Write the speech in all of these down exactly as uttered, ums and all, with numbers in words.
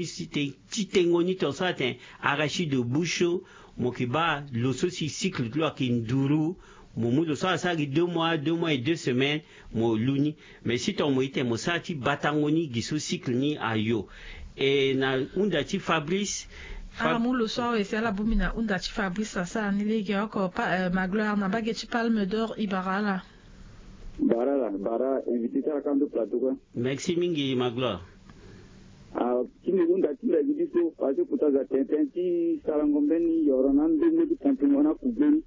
si te ti tengo ni tongaso atene arachide de bouche so, mo yeke baa lo so si cycle ti lo ayeke nduru. Mo mu lo so asara gi deux mois, deux mois et deux semaines, mo lu ni. Mais si tonga mo ite mo sara ti batango ni gi so cycle ni ayo. E na hunda ti Fabrice. Ala mu lo so awe si ala bongbi na hunda ti Fabrice asara ni legeoko pa, eh, Magloire na mbage ti Palme d'Or e bara ala. Bara la bara invité ti ala ka ndo plateau kue. Merci mingi Magloire. Ah, ti mbi hunda ti mbi gi ti so parce que kota za tene tënë ti sarango mbeni yoro na ndongo ti pompe ngo na kugbe ni.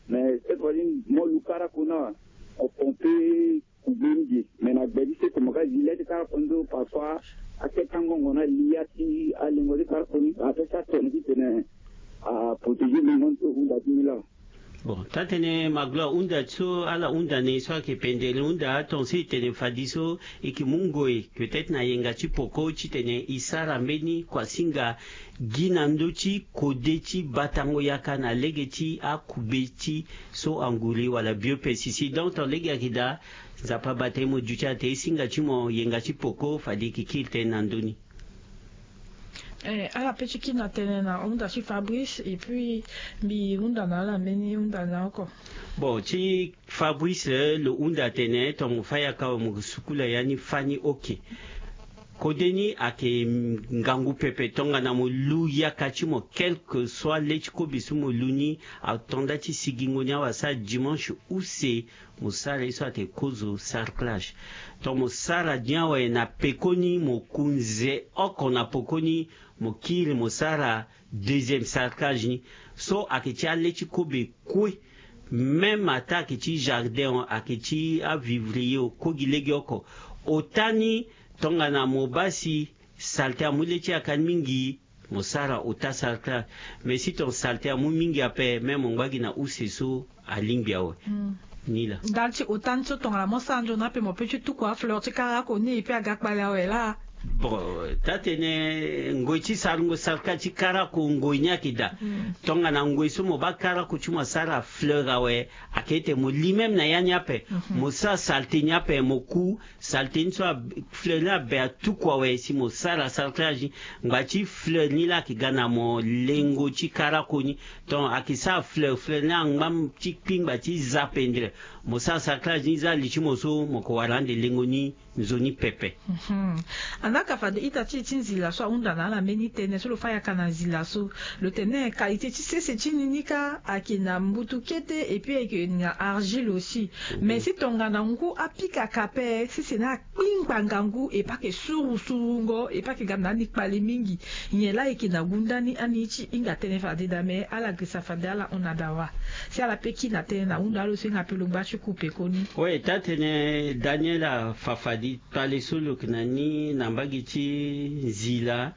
Mais cette fois ci mo lu karako na o pompe kugbe ni ge. Mais na gbe ti seko mo ka zi le ti karako ndo parfois ake tango ngo na lia ti alingo ti karako ni ape sa tene ti tene a protéger lingo ni so hunda ti mbi laa. Bon, taa-tënë Magloire, hunda so ala hunda na e so ayeke pendere hunda atongaso e tene fade so e yeke mu ngoi peut-être na yenga ti poko titene e sara mbeni kuasinga gi na ndö ti kode ti batango yaka na lege ti akugbe ti so anguri wala biopesticide. Donc tongana lege ayeke daa, Nzapa abata e mo duti ate e singa ti mo yenga ti poko fade e yeke kiri tënë na ndö ni. Eh, ala pe ti kiri na tënë na hunda ti Fabrice et puis mbi hunda na ala mbeni hunda na oko. Bon, ti Fabrice, eh, lo hunda atene tonga mo fâ yaka awe mo sukula ya ni fâ ni oke. Kode ni ayeke ngangu pepe tongana mo lu yaka ti mo quelque soit le ti kobe so mo lu ni, atonda ti sigingo ni awe asara dimanche use mo sara ye so atene kozo sarclage. Tonga mo sara ni awe na pekoni mo kunze oko na pokoni mo kiri mo sara deuxième sarclage ni. So ayeke ti ale ti kobe kue. Même ata ayeke ti jardin o ayeke ti avivrier o ko gi legeoko. Ota ni tongana mo baa si salte amu le ti yaka ni mingi, mo sara ota sarclage. Mais si ton salte amu mingi ape même mo ngba gi na use so alingbi awe. Ni laa ndali ti ota ni so tongana mo sara nzoni ape mo pe ti tuku afleur ti karako ni e pe aga kpale awe laa. Bon, taa-tënë ngoi ti sarango sarclage ti karako ngoi ni ayeke daa. Tongana ngoi so mo baa karako ti mo asara fleur awe, ayeke ete mo li même na ya ni ape. Mo sara salte ni ape mo ku salte ni so fleur ni abe atuku awe si mo sara sarclage ni. Ngba ti fleur ni laa ayeke ga na mo lengo ti karako ni. Donc ayeke sara fleur fleur ni angba ti kpingba ti za pendere. Mo sara sarclage ni za li ti mo so mo yeke wara ande lengo ni nzoni pepe. Anaka fade ita ti e ti nzila so ahunda na ala mbeni tënë so lo fâ yaka na nzila so. Lo tene qualité ti sese ti ni ni kâ ayeke na mbutu kete et puis ayeke na argile aussi. Mais si tongana ngu apika ka ape sese ni akpingba ngangu e pe ayeke suru surungo e pe ayeke ga na ni kpale mingi. Nyen laa e yeke na gunda ni ani ti hinga tënë fade daa mais ala girisa fade ala hon na dawa. Si ala pe kiri na tënë na hunda alo so e hinga pe lo ngba ti ku pekoni. Oui, taa-tënë Daniel afa fade kpale so lo yeke na ni na mbage ti nzila.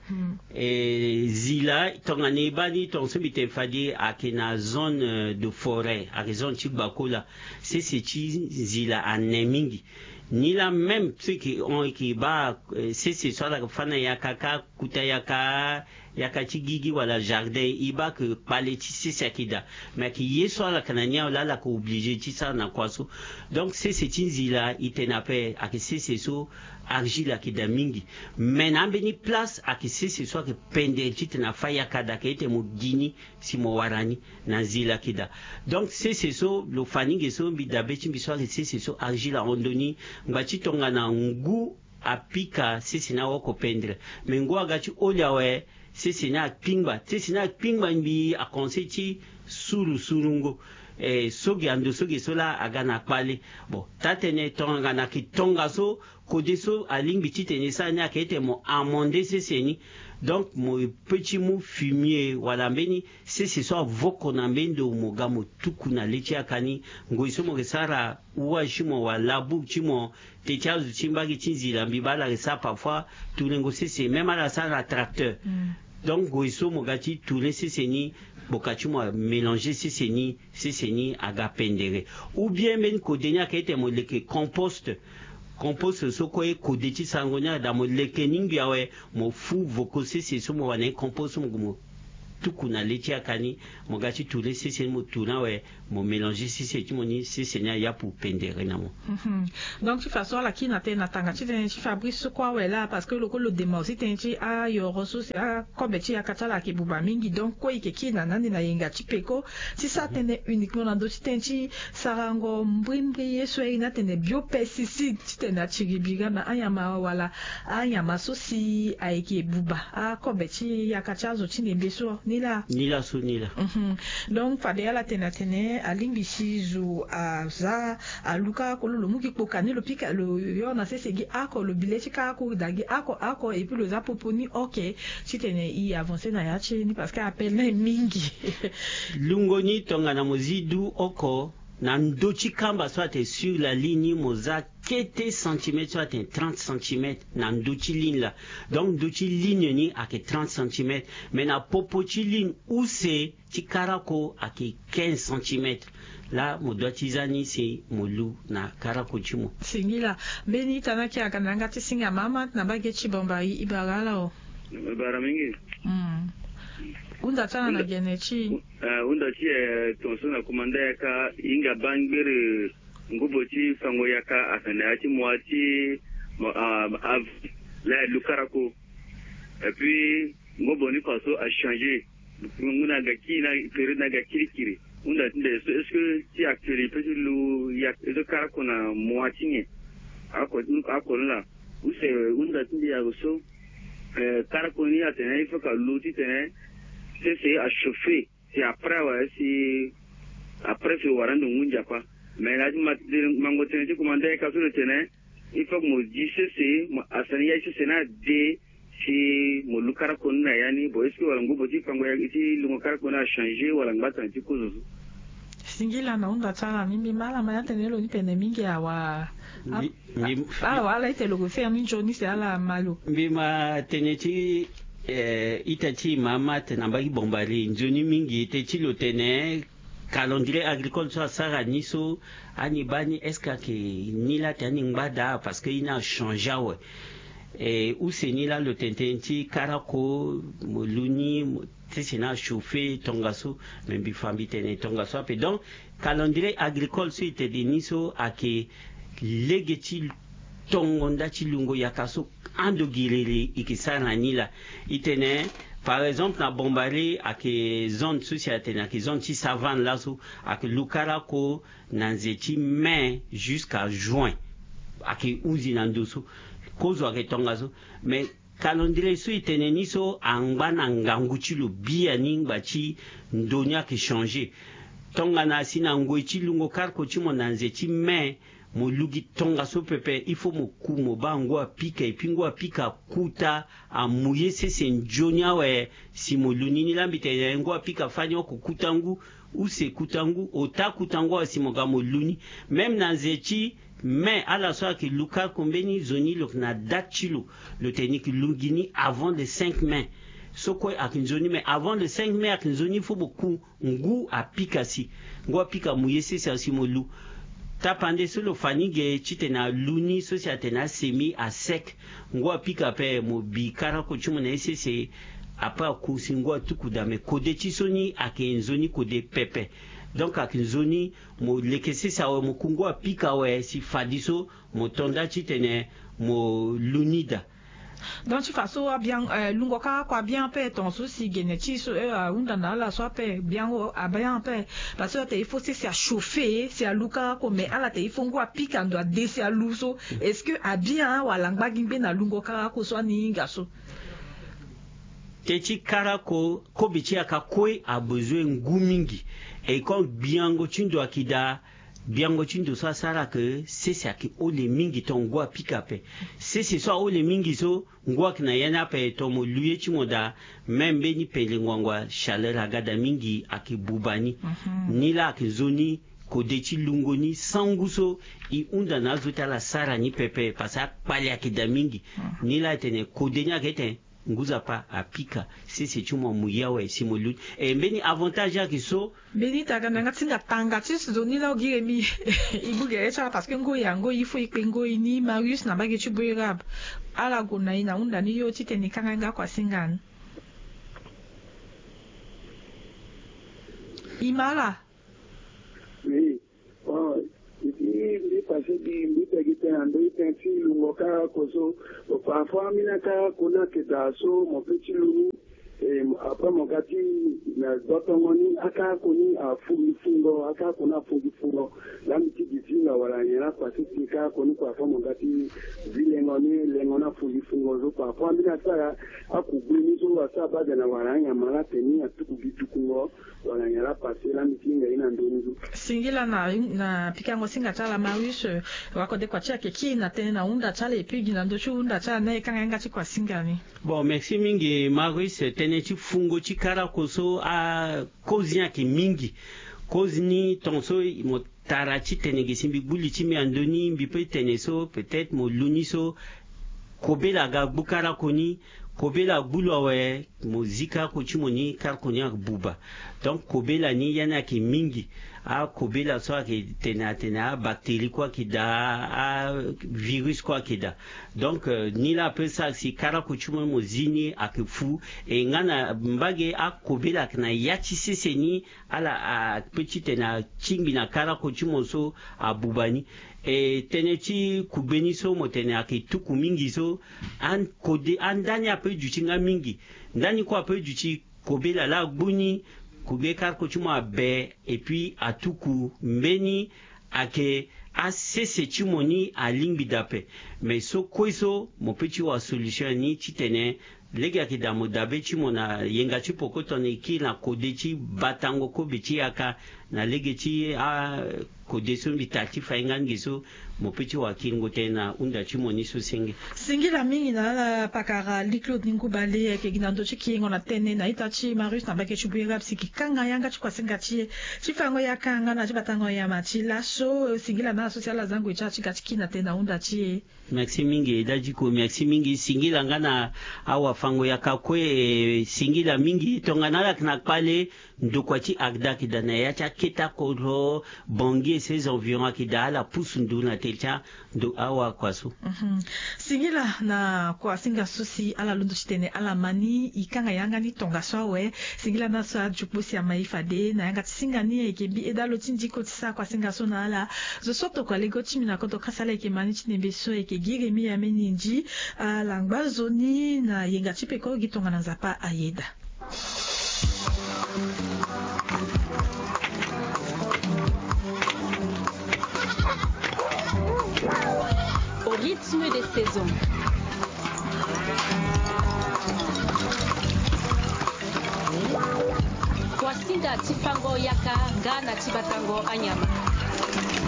E nzila tongana e baa ni tongaso mbi tene fade ayeke na zone de forêt ayeke zone ti gbakola. Sese ti nzila ane mingi. Ni laa même so e yeke hon e yeke baa sese so ala yeke fâ na yaka kâ kuta yaka yaka ti gigi wala jardin e baa ke kpale ti sese ayeke daa. Mais ayeke ye so ala yeke na ni awe laa ala yeke oblige ti sara na kua so. Donc sese ti nzila e tene ape ayeke sese so argile ayeke daa mingi. Mais na ambeni place ayeke sese so ayeke pendere titene afâ yaka daa ayeke ete mo gi ni si mo wara ni na nzila ayeke daa. Donc sese so lo fa ni ge so mbi dabe ti mbi so ayeke sese so argile ahon ndo ni. Ngba ti tongana ngu apika sese ni aoko pendere. Mais ngu aga ti oli awe sese ni akpingba sese ni akpingba mbi akonse ti suru surungo. Eh, so ge ando so ge so laa aga na kpale. Bon, taa-tënë tongana ayeke tongaso kode so alingbi titene e sara ni ayeke ete mo amende sese ni. Donc mo pe ti mu fumier wala mbeni sese so avoko na mbeni ndo mo ga mo tuku na le ti yaka ni. Ngoi so mo yeke sara ouage ti mo wala labour ti mo te ti azo ti mbage ti nzila mbi baa ala yeke sara parfois turengo sese même ala sara na tracteur. Donc ngoi so mo ga ti ture sese ni kpoka ti mo amélanger sese ni sese ni aga pendere. Ou bien mbeni kode ni ayeke ete mo leke composte. Composte so kue kode ti sarango ni ayeke daa mo leke ni ngbi awe mo fu voko sese so mo wara na ye composte so mo gue mo tuku na le ti yaka ni, mo ga ti tourner sese ni, mo tourner awe, mo mélanger sese ti mo ni, sese ni ayapu pendere na mo. Mhm. Donc ti façon ala kiri na tënë na tanga ti tënë ti Fabrice so kue awe laa, parce que lo kue lo dema aussi tënë ti ayoro so si akobe ti yaka ti ala ayeke buba mingi. Donc kue e yeke kiri na ni ande na yenga ti peko ti sara tënë uniquement na ndö ti tënë ti sarango mbrimbri ye so airi ni atene biopesticide, titene atiri bira na anyama wala anyama so si ayeke buba akobe ti yaka ti azo ti nembe so, ni laa. Ni laa so, ni laa. Mhm. Donc fade ala tene atene alingbi si zo aza alu karako lo, lo mu gi kpoka ni, lo pika lo yo na sese gi oko, lo bi le ti karako daa gi oko oko, et puis lo za popo ni oke, titene e avancer na ya ti e ni, parce que appel ni mingi. Lungo ni tongana mo zi du oko na ndö ti kamba so atene sur la ligne ni, mo za kete centimètre so atene trente centimètres na ndö ti ligne laa. Donc ndö ti ligne ni ayeke trente centimètres, mais na popo ti ligne use ti karako ayeke quinze centimètres. Laa mo doit ti za ni si mo lu na karako ti mo. Singila. Mbeni ita ni ayeke aga na yanga ti singa mama na mbage ti Bambari, e bara ala o. E bara mingi. Mm. Hunda ti ala na gene ti e. Eh, hunda ti e, eh, tongaso na kumanda yaka, e hinga baa ngbere ngobo ti fango yaka ayeke na ya ti mois ti mo, ah, avril, laa e lu karako. Et puis ngobo ni faso achanger. Ngu na ga kiri na période na ga kirikiri. Hunda ti nde so, est-ce que ti actuel e peut ti lu yaka, e so karako na mois ti nyen? Oko, oko ni laa. Use hunda ti nde awe so, eh, karako ni atene il faut que alu titene sese achauffer. Si après awe, si après si wara ndo ngu nzapa. Mais na ti ma, mango tënë ti kumanda yaka so lo tene, il faut que mo zi sese, mo asani ya ti sese ni ade, si mo lu karako ni na ya ni. Bon, est-ce que wala ngobo ti fango ya ti lungo karako ni achanger wala ngbasani ti kozo so? Singila na hunda ti ala ni. Mbi ma ala ma ya tene lo ni pene mingi awa. Mbi, mbi, awa ala ite lo gue faire ni nzoni si ala ma lo. Mbi ma tënë ti, eh, ita ti e ma ma tene na mbage ti Bambari nzoni mingi, tënë ti lo tene calendrier agricole so asara ni so, ani baa ni est-ce que ayeke ni laa atene ani ngba daa, parce que e ni achanger awe. Eh, use ni laa lo tene tënë ti karako, mo lu ni, mo sese ni achauffer tongaso, me mbi fa mbi tene tongaso ape. Donc calendrier agricole so e tene ni so ayeke lege ti tongo nda ti lungo yaka so ando giriri e yeke sara na ni laa. E tene, par exemple, na Bambari ayeke zone so si atene ayeke zone ti savane laso, ayeke lu karako na nze ti mai jusqu'à juin. Ayeke hunzi na ndo so. Kozo ayeke tongaso. Mais calendrier so e tene ni so angba na ngangu ti lo biani ngba ti ndo ni ayeke changer. Tongana asi na ngoi ti lungo karako ti mo na nze ti mai, mo lu gi tongaso pepe, il faut mo ku mo baa ngu apika, et puis ngu apika akuta, amu ye sese nzoni awe, si mo lu ni. Ni laa mbi tene ngu apika fani oko kuta ngu, use kuta ngu, ota kuta ngu awe si mo ga mo lu ni. Même na nze ti mai, ala so ayeke lu karako mbeni zo ni lo yeke na date ti lo, lo tene ni yeke lu gi ni avant le cinq mai. So kue ayeke nzoni, mais avant le cinq mai ayeke nzoni, faut mo ku ngu apika si, ngu apika amu ye sese asi mo lu. Tapande so lo fa ni ge titene alu ni so si atene asemi asec, ngu apika ape mo bi karako ti mo na ye sese. Après aku si ngu atuku daa, me kode ti so ni ayeke nzoni kode pepe. Donc ayeke nzoni mo leke sese awe, mo ku ngu apika awe si fadeso mo to nda titene mo lu ni daa. Donc ti fa so abian, eh, lungo karako abian ape tongaso si gene ti so, eh, ahunda na ala so ape biango abian ape. Parce que atene il faut sese achauffer si alu karako, mais ala tene il faut ngu apika ndo ade si alu so. Est-ce que abian wala angba gi ngbe na lungo karako so ani hinga so? Tënë ti karako, kobe ti yaka kue abezoin ngu mingi. Et comme gbiango ti ndo ayeke daa, gbiango ti ndo so asara ke sese ayeke hole mingi, tongo ngu apika ape. Sese so ahole mingi so, ngu ayeke na ya ni ape, tongo mo lu ye ti mo daa, même mbeni pele ngbangba, chaleur aga daa mingi, ayeke buba ni. Mhm. Ni laa ayeke nzoni kode ti lungo ni, sangu so e hunda na azo ti ala sara ni pepe, parce que akpale ayeke daa mingi. Mhm. Ni laa e tene kode ni ayeke tene ngu nzapa apika sese ti mo amu ye awe si mo lu ni. E mbeni avantage ayeke so. Mbeni ita aga na yanga ti singa tanga ti zo ni laa, o gi remi. E bû gere ti ala parce que ngoi angoi il faut e kpe ngoi ni. Marius na mbage ti Boerab, ala gue na e na hunda ni yo titene e kanga yanga oko asinga ni. i ma ala. Oui. Bon, i ti mbi pase gi mbi tegi tënë na ndö ti tënë ti lungo karako so. Bon, parfois ambeni akarako ni ayeke daa so mo pe ti lu ni. E, après mo ga ti na gbotongo ni akarako ni afungi fungo, akarako ni afungi fungo. Laa mbi ti gi zinga wala nyen laa pase ti karako ni parfois mo ga ti zi lengo ni, lengo ni afungi fungo so parfois ambeni asara akugbe ni so asara bade na wala anyama laa atene ni atuku gi tukungo. Wala nyen laa pase laa mbi ti hinga ye na ndö ni so. Singila na, na pikango singa ti ala Marius, eh, wakode kua ti ayeke kiri na tënë na hunda ti ala, et puis gi na ndö ti hunda ti ala ni e kanga yanga ti kua singa ni. Bon, merci mingi Marius. Tënë ti fungo ti karako so, ah, kozi ni ayeke mingi. Kozi ni tongaso mo tara ti tene ge si mbi gbu li ti mbi na ndö ni, mbi pe tene so peut-être mo lu ni so, kobela aga gbu karako ni, kobela agbu lo awe, mo zi karako ti mo ni, karako ni abuba. Donc kobela ni ya ni ayeke mingi. Akobela so ayeke tene atene abactérie kue ayeke daa, avirus kue ayeke daa. Donc, euh, ni laa ape sara si karako ti mo ni mo zi ni ayeke fu. E nga na mbage akobela ayeke na ya ti sese ni, ala ape ti tene atingbi na karako ti mo so abuba ni. E tënë ti kugbe ni so mo tene ayeke tuku mingi so, an-, kode, andani ape duti nga mingi. Ndani kue ape duti, kobela laa agbu ni, kugbe karako ti mo abe, et puis atuku mbeni, ayeke asese ti mo ni alingbi daa ape. Mais so kue so mo pe ti wa solution ni ti tene lege ayeke daa mo dabe ti mo na yenga ti poko tongana e kiri na kode ti batango kobe ti yaka na lege ti akode so mbi tara ti fa hinga ni ge so, mo pe ti wa kiringo tënë na hunda ti mo ni so senge. Singila mingi na ala pakara Lee Claude Ningou Bale ayeke gi na ndö ti kiringo na tënë na ita ti Marius na mbage ti Bouirap si e kanga yanga ti kua singa ti e ti fango yaka nga na ti batango nyama ti laso. Singila na ala so si ala zango e ti ala ti ga ti kiri na tënë na hunda ti e. Merci mingi Dadiko, merci mingi. Singila nga na awafango yaka kue, eh, singila mingi. Tongana ala yeke na kpale, ndokua ti Agda ayeke daa na ya ti akete akoro, Bangui et ses environs ayeke daa, ala pusu nduru na tere ti ando awakua so. Mhm. Singila na kua singa so si ala londo ti tene ala ma ni, e kanga yanga ni tongaso awe. Singila na so adio kpo si ama e fade na yanga ti singa ni ayeke mbi Eda Lo ti Ndiko ti sara kua singa so na ala. Zo so tokua lego ti mbi na kodro kasa laa ayeke ma ni ti nembe so ayeke gi Rémy Ameni Ndji, alangba zo ni na yenga ti peko gi tongana Nzapa ayeda. Au rythme des saisons. Kua singa ti fango yaka nga na ti batango anyama.